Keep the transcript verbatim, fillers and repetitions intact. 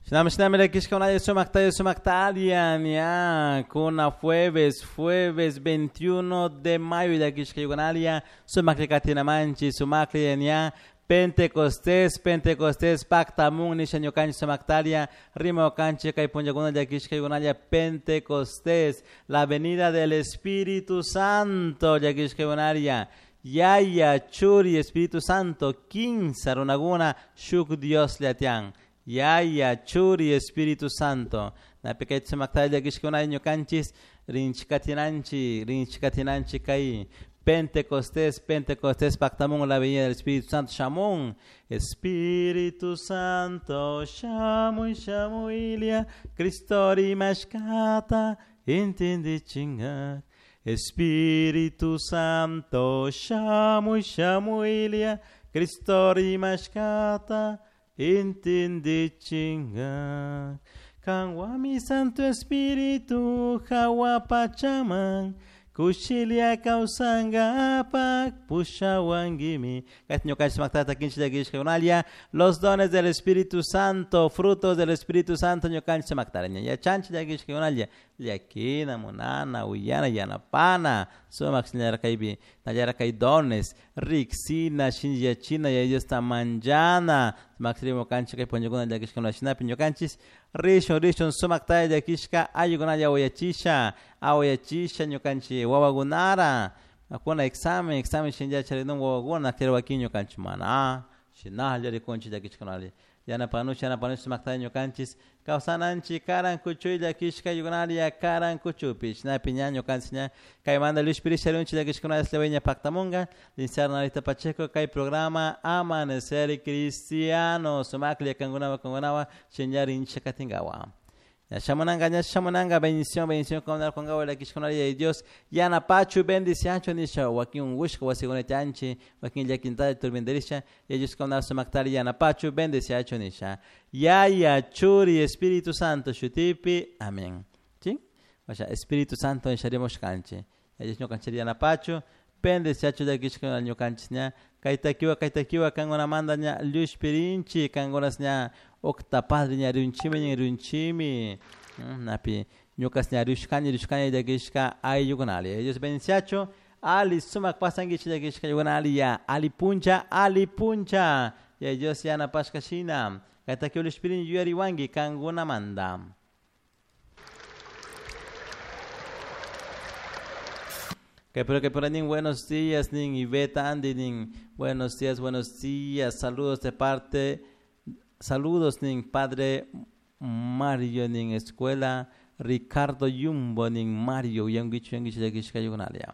Shinami shinami llakishka sumakta sumakta ña kuna jueves jueves veintiuno de mayo llakishka yugunalia sumakli katinamanchik sumakli ña Pentecostés Pentecostés paktamun nisha ñukanchik sumaktalia rimakanchik kay punllakuna llakishka yugunalia Pentecostés, la venida del Espíritu Santo llakishka yugunalia Yaya, Churi, Espíritu Santo, kinsa runakuna shuk Dios llatian. Yaya, Churi, Espíritu Santo. Napikay sumakta llakishkuna ñukanchis rinchikatinanchi, rinchikatinanchi kay Pentecostés, Pentecostés, paktamun la venida del Espíritu Santo, shamun. Espíritu Santo, shamuy, shamuilia, Cristo rimashkata, intindichinga. Espíritu Santo, shamuy, shamuilia, Cristo rimashkata, intindichinga. Kanwami Santo Espíritu, hawa pachaman, kushilia kawsangapak, pushawangimi. Los dones del Espíritu Santo, frutos del Espíritu Santo, ñukanchik maktaraña. Yachanchik llakishka llakina, munana, uyana, yanapana, sumak kaypi, nallara kay dones, riksina, shinllachina, Yaya Diosta manllana, sumak rimukanchik kay punllakuna llakishka shinapi ñukanchik rishun rishun sumaktalla llakishka ayllukunalla awayachisha, awayachisha ñukanchik wawakunara, kuna examen, examen shinlla charinun wawakuna, pero wakin ñukanchik mana, shinalla rikunchik llakishkunalla. Yanapanush, yanapanush sumaktalla ñukanchik kawsananchik karan kuchuy llakishka ayllukunalia karan kuchupi, shinapi ña ñukanchik ña kaymanta llushpirisha rinchik llakishkunalla Eslovenia paktamunga, licenciado Narita Pacheco kay programa Amanecer Cristiano, sumakli kankunawa kankunawa shinlla rinchik katinkawa. Shamunanga, ña shamunanga, bendición, bendición con con llakishkunalia de Dios, yanapachu, bendiciancho nisha, wakin ungushka wasikuna chanchi, wakin llakinta turbinderisha, ellos con sumaktari yanapachu, bendiciacho nisha. Yaya, Churi, Espíritu Santo, shutipi, amén. ¿Sí? O sea, Espíritu Santo nisharemos kanchi. Ellos no canchería yanapachu, bendiciacho llakishkuna ñukanchik ña, kaytakiwa, kaytakiwa, kankuna manda ña, llushpirinchi, kankunas ña, octa padre ña rinchimi ña rinchimi napi ñukas ña rishkani rishkani llakishka ayllukunali. Ellos bendiciacho, ali sumak pasanguichi llakishka ayllukunali ya, ali puncha, ali puncha, ya Dios yanapashka shina, kaytakiwa llushpirin yuyariwanki kankuna manda. Que pero que por nin buenos días nin Iveta Andy nin buenos días, buenos días, saludos de parte, saludos nin padre Mario nin escuela Ricardo Yumbo nin Mario yanguichu yanguichu llakishka ayllukunalia.